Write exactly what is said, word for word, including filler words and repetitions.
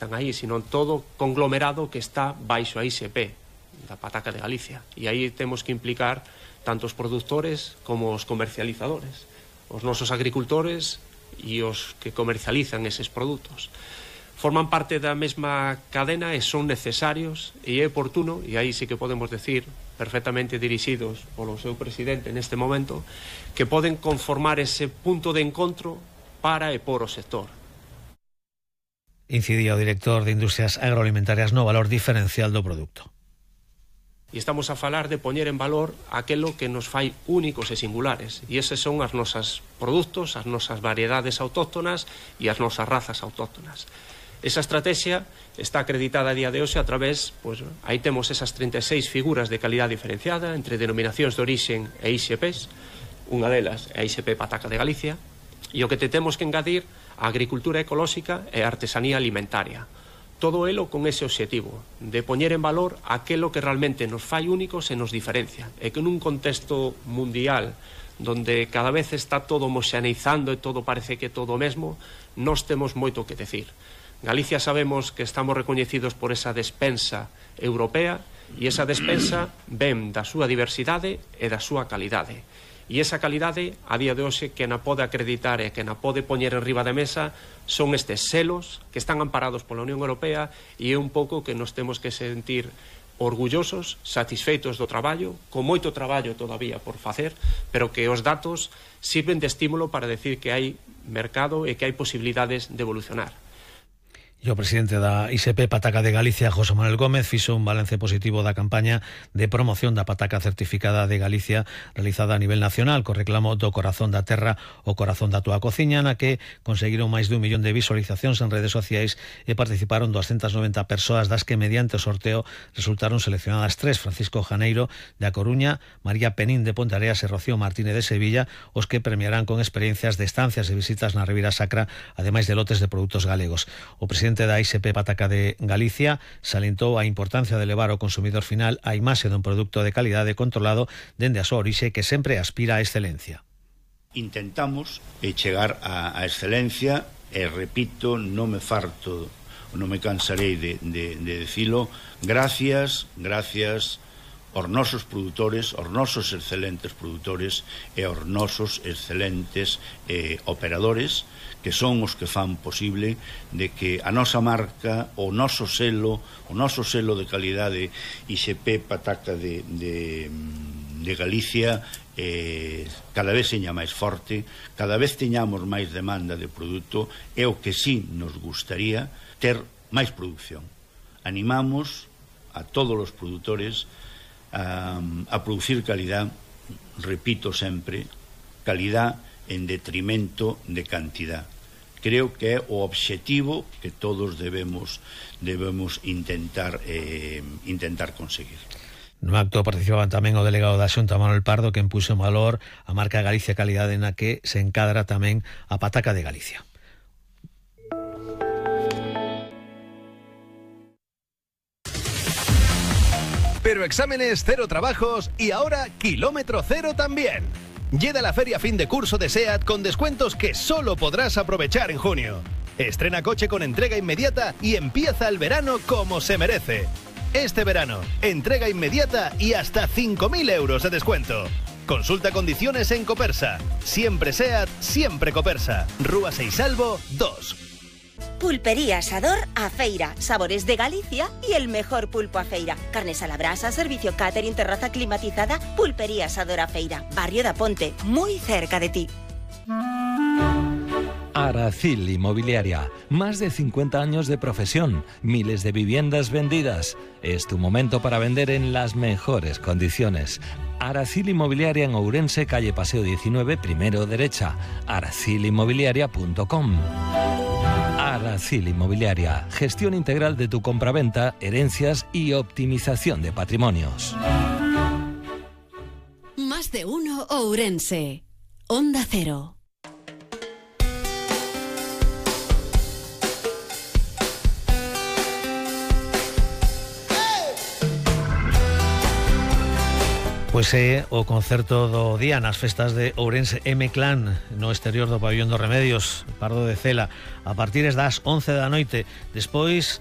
están aí, sino todo conglomerado que está baixo a I S P da pataca de Galicia, e aí temos que implicar tanto os produtores como os comercializadores, os nosos agricultores e os que comercializan eses produtos. Forman parte da mesma cadena e son necesarios, e é oportuno, e aí sí que podemos decir, perfectamente dirixidos polo seu presidente neste momento, que poden conformar ese punto de encontro para e por o sector. Incidía o director de Industrias Agroalimentarias no valor diferencial do produto. E estamos a falar de poñer en valor aquelo que nos fai únicos e singulares, e eses son as nosas produtos, as nosas variedades autóctonas e as nosas razas autóctonas. Esa estrategia está acreditada a día de hoxe a través, pois, aí temos esas trinta e seis figuras de calidad diferenciada entre denominacións de orixen e I S Ps, unha delas é a I S P Pataca de Galicia, e o que te temos que engadir a agricultura ecolóxica e a artesanía alimentaria. Todo elo con ese obxectivo de poñer en valor aquelo que realmente nos fai únicos e nos diferencia, e que nun contexto mundial donde cada vez está todo homoxeneizando e todo parece que todo o mesmo, nós temos moito que decir. Galicia sabemos que estamos recoñecidos por esa despensa europea, e esa despensa ven da súa diversidade e da súa calidade. E esa calidade, a día de hoxe, que na pode acreditar e que na pode poñer en riba de mesa son estes selos que están amparados pola Unión Europea, e é un pouco que nos temos que sentir orgullosos, satisfeitos do traballo, con moito traballo todavía por facer, pero que os datos sirven de estímulo para decir que hai mercado e que hai posibilidades de evolucionar. E o presidente da I S P Pataca de Galicia, José Manuel Gómez, fixo un balance positivo da campaña de promoción da pataca certificada de Galicia realizada a nivel nacional, co reclamo do corazón da terra, o corazón da túa cociña, na que conseguiron máis dun millón de visualizacións en redes sociais e participaron doscientas noventa persoas, das que mediante o sorteo resultaron seleccionadas tres: Francisco Janeiro de A Coruña, María Penín de Ponteareas e Rocío Martínez de Sevilla, os que premiarán con experiencias de estancias e visitas na Ribeira Sacra, ademais de lotes de produtos galegos. O presidente da I S P Pataca de Galicia salientou a importancia de levar ao consumidor final a imaxe dun produto de calidade controlado dende a súa orixe, que sempre aspira á excelencia. Intentamos chegar á excelencia e, repito, non me farto, non me cansarei de, de, de decilo, gracias, gracias aos nosos produtores, aos nosos excelentes produtores e aos nosos excelentes eh, operadores, que son os que fan posible de que a nosa marca, o noso selo, o noso selo de calidade I S P Pataca de, de, de Galicia eh, cada vez seña máis forte, cada vez teñamos máis demanda de produto, e o que sí nos gustaría ter máis produción. Animamos a todos os produtores a, a producir calidad, repito sempre, calidad en detrimento de cantidad. Creo que é o obxectivo que todos debemos debemos intentar eh, intentar conseguir. No acto participaban tamén o delegado da Xunta, Manuel Pardo, que puxo en valor a marca Galicia Calidade, na que se encadra tamén a Pataca de Galicia. Pero exámenes, cero trabajos y ahora kilómetro cero también. Llega la feria fin de curso de SEAT con descuentos que solo podrás aprovechar en junio. Estrena coche con entrega inmediata y empieza el verano como se merece. Este verano, entrega inmediata y hasta cinco mil euros de descuento. Consulta condiciones en Copersa. Siempre SEAT, siempre Copersa. Rúa Seisalvo dos. Pulpería Asador A Feira, sabores de Galicia y el mejor pulpo a feira. Carnes a la brasa, servicio catering, terraza climatizada. Pulpería Asador A Feira, Barrio da Ponte, muy cerca de ti. Aracil Inmobiliaria, más de cincuenta años de profesión, miles de viviendas vendidas. Es tu momento para vender en las mejores condiciones. Aracil Inmobiliaria en Ourense, calle Paseo diecinueve, primero derecha. aracil inmobiliaria punto com. Aracil Inmobiliaria, gestión integral de tu compraventa, herencias y optimización de patrimonios. Más de uno Ourense. Onda Cero. Pues Pois é o concerto do día nas festas de Ourense M-Clan no exterior do pabillón dos Remedios, Pardo de Cela, a partir das once da noite. Despois